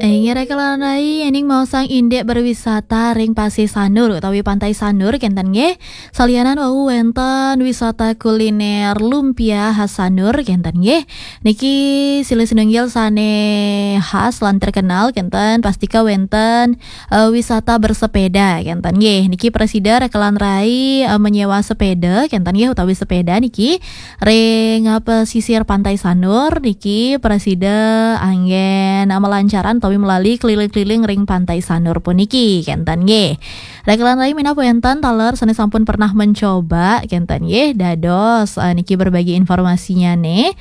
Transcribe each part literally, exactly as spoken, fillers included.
Inggih raka lan rai, ening maosang indik berwisata ring Pasih Sanur utawi Pantai Sanur kenten nggih. Salianan wau wenten wisata kuliner lumpia khas Sanur kenten nggih. Niki silih sinunggil sane khas lan terkenal kenten, pastika wenten eh, wisata bersepeda kenten nggih. Niki prasida raka lan rai eh, menyewa sepeda kenten nggih, utawi sepeda niki ring eh, pesisir Pantai Sanur niki prasida anggen eh, melancaran utawi melali keliling-keliling ring Pantai Sanur puniki kenten nggih. Raka lan rai minab wenten taler sane sampun pernah mencoba kenten nggih, dados eh, niki berbagi informasinya nih.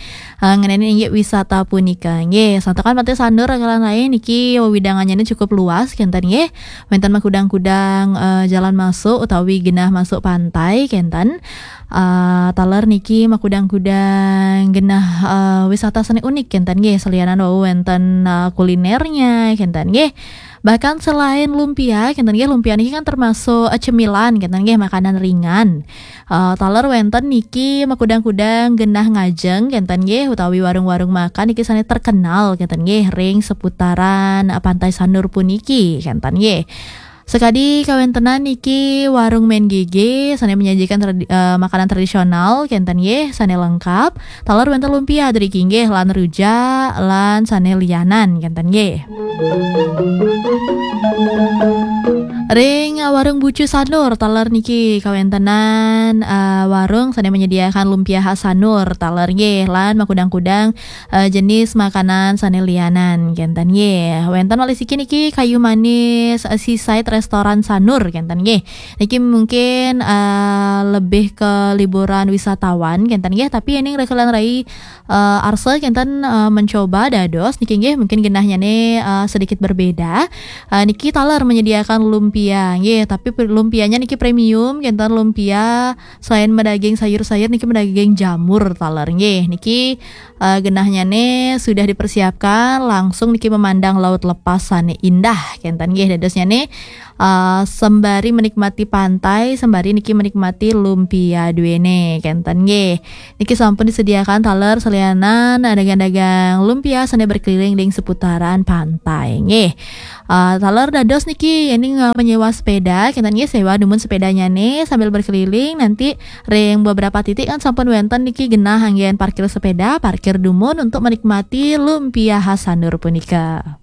Eh, ngenani inggih wisata punika nggih. Santukan Pantai Sanur raka lan rai niki wewidangannya cukup luas kenten nggih. Wenten makudang-kudang eh, jalan masuk utawi genah masuk pantai kenten. Eh, taler niki makudang-kudang genah eh, wisata sane unik kenten nggih. Salianan wau wenten eh, kulinernya kenten nggih. Bahkan selain lumpia kenten nggih, lumpia niki kan termasuk eh, cemilan kenten nggih, makanan ringan. Eh, taler wenten niki makudang-kudang genah ngajeng kenten nggih, utawi warung-warung makan niki sane terkenal kenten nggih ring seputaran eh, Pantai Sanur puniki kenten nggih. Sekadi kawentenan niki warung Men Gege sane menyajikan tradi- eh, makanan tradisional kenten nggih, sane lengkap. Taler wenten lumpia driki nggih, lan rujak lan sane lianan kenten nggih. Ring eh, warung Bucu Sanur taler niki kawentenan eh, warung sane menyediakan lumpia khas Sanur taler nggih, lan makudang-kudang eh, jenis makanan sane lianan kenten nggih. Wenten malih siki niki Kayu Manis eh, Seaside Restoran Sanur kenten nggih. Niki mungkin eh, lebih ke liburan wisatawan kenten nggih, tapi ening raka lan rai eh, arsa kenten eh, mencoba dados niki nggih, mungkin genahnya nih eh, sedikit berbeda. Eh, niki taler menyediakan lumpia nggih, tapi pe- lumpianya niki premium kenten, lumpia selain medaging sayur-sayur niki medaging jamur taler nggih. Niki eh, genahnya nih sudah dipersiapkan langsung niki memandang laut lepas sane indah kenten nggih, dadosnya nih eh, sembari menikmati pantai, sembari niki menikmati lumpia duene kenten nggih. Niki sampun disediakan taler salianan dagang-dagang lumpia sane berkeliling ring seputaran pantai nggih. Eh, taler dados niki ening eh, menyewa sepeda kenten nggih, sewa dumun sepedanya nih sambil berkeliling, nanti ring beberapa titik kan sampun wenten niki genah anggen parkir sepeda, parkir dumun untuk menikmati lumpia khas Sanur punika.